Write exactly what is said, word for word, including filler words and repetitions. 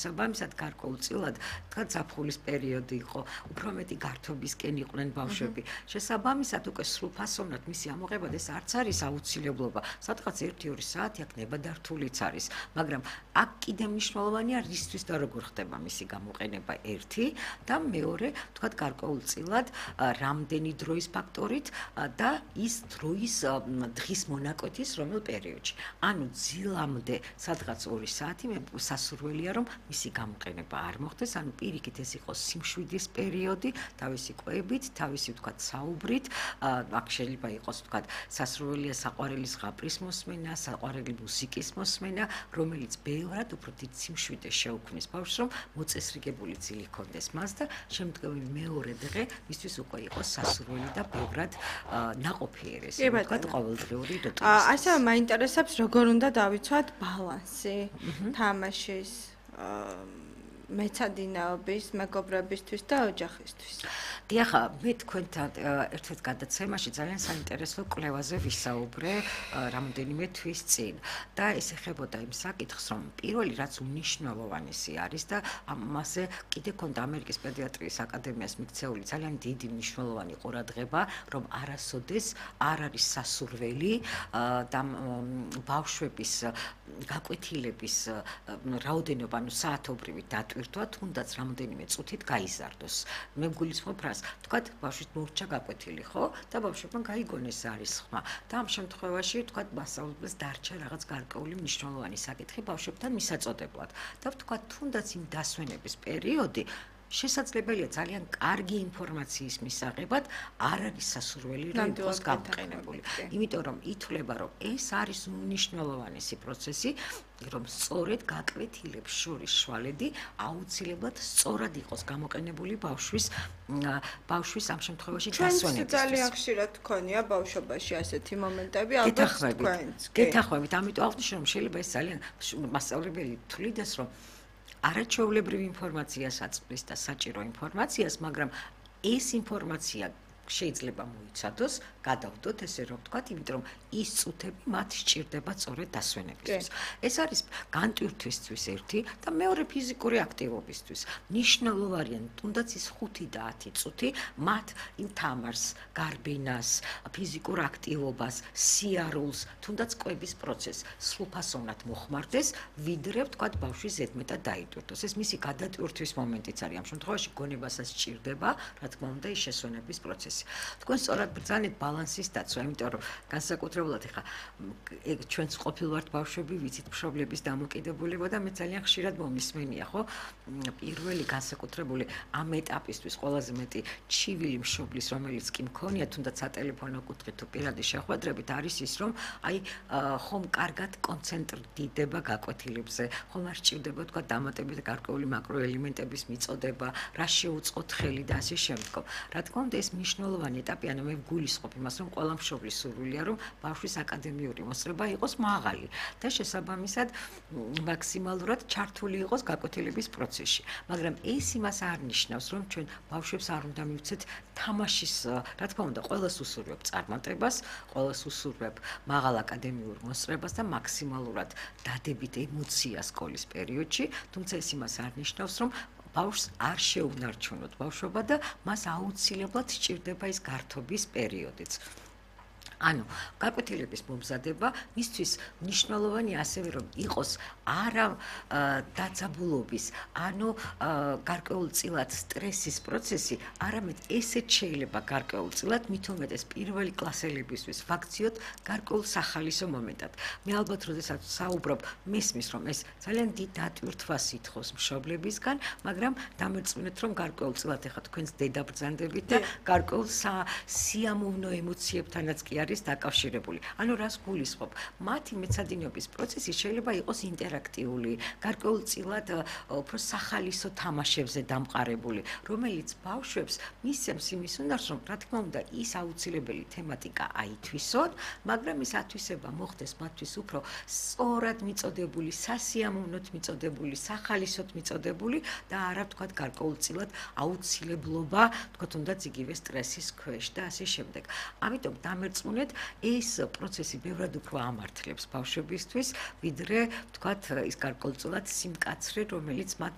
საბამისად გარკვეულწილად თქვა ზაფხულის პერიოდი იყო, უფრო მეტი გართობისკენ იყვნენ ბავშვები. შესაბამისად უკვე სრულფასოვნად მისი ამოღება ეს არც არის აუცილებლობა. სადღაც ერთი-ორი საათი აქ ნებადართულიც არის, მაგრამ აქ კიდე მნიშვნელოვანია რისთვის და როგორ ხდება მისი გამოყენება ერთი და მეორე, თქვა გარკვეულწილად რამდენი დროის ფაქტორით და ის დროის დღის მონაკვეთის რომელ პერიოდში. ანუ ძილამდე სადღაც ორი საათი მე სასურველია რომ მისი გამოყენება არ მოხდეს, ანუ პირიქით ეს იყოს სიმშვიდის პერიოდი, თავისი კვებით, თავისი ვთქვათ საუბრით, აქ შეიძლება იყოს ვთქვათ სასურველია საყვარელი ზღაპრის მოსმენა, საყვარელი მუსიკის მოსმენა, რომელიც ბევრად უფრო დიდ სიმშვიდეს შეუქმნის ბავშვს, რომ მოწესრიგებული ძილი ჰქონდეს მას და შემდგომი მეორე დღე მისთვის უკვე იყოს სასურველი და ბევრად ნაყოფიერესი, ვთქვათ ყოველდღიური რუტინის. ასევე მაინტერესებს როგორ უნდა დავიცვათ ბალანსი თამაშის მეცადინეობის, მეგობრებისთვის და ოჯახისთვის. დიახ, მე თქვენთან ერთ-ერთ გადაცემაში ძალიან საინტერესო კვლევაზე ვისაუბრე რამდენიმე თვის წინ და ეს ეხებოდა იმ საკითხს, რომ პირველი რაც უმნიშვნელოვანესი არის და ამაზე კიდე ქონდა ამერიკის პედიატრიის აკადემიას მიქცეული ძალიან დიდი მნიშვნელოვანი ყურადღება, რომ არასოდეს არ არის სასურველი და ბავშვების გაკვეთილების რაოდენობა, ანუ საათობრივი დატვირთვა თუნდაც რამდენიმე წუთით გაიზარდოს. მე ვგულისხმობ რას, თქვათ, ბავშვის მორჩა გაკვეთილი, ხო? და ბავშვებმა გაიგონეს არის ხმა. და ამ შემთხვევაში, თქვათ, მასწავლებელს დარჩა რაღაც გარკვეული მნიშვნელოვანი საკითხი ბავშვებთან მისაწოდებლად. და ვთქვათ, თუნდაც იმ დასვენების პერიოდი შესაძლებელია ძალიან კარგი ინფორმაციის მისაღებად არ არის სასურველი რომ იყოს გამოყენებული. იმიტომ რომ ითვლება რომ ეს არის უმნიშვნელოვანესი პროცესი, რომ სწორედ გაკვეთილებს შორის შვალედი აუცილებლად სწორად იყოს გამოყენებული ბავშვის ბავშვის ამ შემთხვევაში დასვენებისთვის. ძალიან ხშირად გქონია ბავშვობაში ასეთი მომენტები, ალბათ თქვენც. გეთანხმებით, ამიტომ აღნიშნე რომ შეიძლება ეს ძალიან მასწავლებელი თვლიდეს რომ არაჩვეულებრივი ინფორმაციას აწვდის და საჭირო ინფორმაციას, მაგრამ ეს ინფორმაცია შეიძლება მოიცადოს, გადავდოთ ესე რომ ვთქვათ, იმიტომ რომ ის წუთები მათ სჭირდება სწორედ დასვენებისთვის. ეს არის განტვირთვისთვის ერთი და მეორე ფიზიკური აქტივობისთვის. მნიშვნელოვანია თუნდაც ის ხუთი და ათი წუთი მათ იმ თამარს, გარბინას, ფიზიკურ აქტივობას, სიარულს, თუნდაც კვების პროცესს სრულფასოვნად მოხმარდეს, ვიდრე ვთქვათ ბავშვი ზედმეტად დაიტვირთოს. ეს მისი გადატვირთვის მომენტიც არის. ამ შემთხვევაში გონებასაც სჭირდება, რა თქმა უნდა, ის შესვენების პროცესი. თქვენ სწორად ბრძანეთ ბალანსის დაცვა, იმიტომ რომ განსაკუთრებულად ეხა ჩვენც ყოფილვართ ბავშვები, ვიცით მშობლების დამოკიდებულება და მე ძალიან ხშირად მომისმენია, ხო? პირველი განსაკუთრებული ამ ეტაპისთვის ყველაზე მეტი ჩივილი მშობლის, რომელიც კი მქონია, თუნდაც სატელეფონო კუთხით თუ პირადი შეხვედრებით არის ის, რომ აი ხომ კარგად კონცენტრირდება გაკვეთილებზე, ხომ არ სჭირდება თქვა დამატებით გარკვეული მაკროელემენტების მიწოდება, რა შეუწყოთ ხელი და ასე შემდგომ. რა თქმა უნდა, ეს მნიშვნელოვანი ეტაპი, ანუ მე ვგულისხმობ იმას, რომ ყველა მშობლის სურვილია, რომ ბავშვის აკადემიური მოსწრება იყოს მაღალი და შესაბამისად მაქსიმალურად ჩართული იყოს გაკვეთილების პროცესში. მაგრამ ეს იმას არ ნიშნავს, რომ ჩვენ ბავშვებს არ უნდა მივცეთ თამაშის, რა თქმა უნდა, ყველას უსურვებ წარმატებას, ყველას უსურვებ მაღალ აკადემიურ მოსწრებას და მაქსიმალურად დადებით ემოციას სკოლის პერიოდში, თუმცა ეს იმას არ ნიშნავს, რომ ბავშვს არ შეუნარჩუნოთ ბავშვობა და მას აუცილებლად სჭირდება ის გართობის პერიოდიც. ანუ გაკვეთილების მომზადება მისთვის მნიშვნელოვანია ასევე რომ იყოს არა დაძაბულობის, ანუ გარკვეულწილად სტრესის პროცესი, არამედ ესეც შეიძლება გარკვეულწილად მით უმეტეს პირველი კლასელებისთვის ვაქციოთ გარკვეულ სახალისო მომენტად. მე ალბათ როდესაც საუბრობ, მესმის რომ ეს ძალიან დიდ დატვირთვას ითხოვს მშობლებისგან, მაგრამ დამერწმუნეთ რომ გარკვეულწილად ეხა თქვენს დედაბრძანდებით და გარკვეულ სიამოვნო ემოციებთანაც კი არის დაკავშირებული. ანუ რას გულისხმობ? მათი მეცადინეობის პროცესი შეიძლება იყოს ინტერაქტიული, გარკვეულწილად უფრო სახალისო თამაშებზე დამყარებული, რომელიც ბავშვებს მისცემს იმის უნარს, რომ რა თქმა უნდა, ის აუცილებელი თემატიკა აითვისონ, მაგრამ ის ათვისება მოხდეს მათთვის უფრო სწორად მიწოდებული, სასიამოვნოთ მიწოდებული, სახალისოთ მიწოდებული და არა ვთქვათ გარკვეულწილად აუცილებლობა, ვთქვათ თუნდაც იგივე სტრესის ქვეშ და ასე შემდეგ. ამიტომ დამერწმუნეთ ეს პროცესი ბევრად უფრო ამართლებს ბავშვებისთვის, ვიდრე ვთქვათ ის გარკვეულწილად სიმკაცრე, რომელიც მათ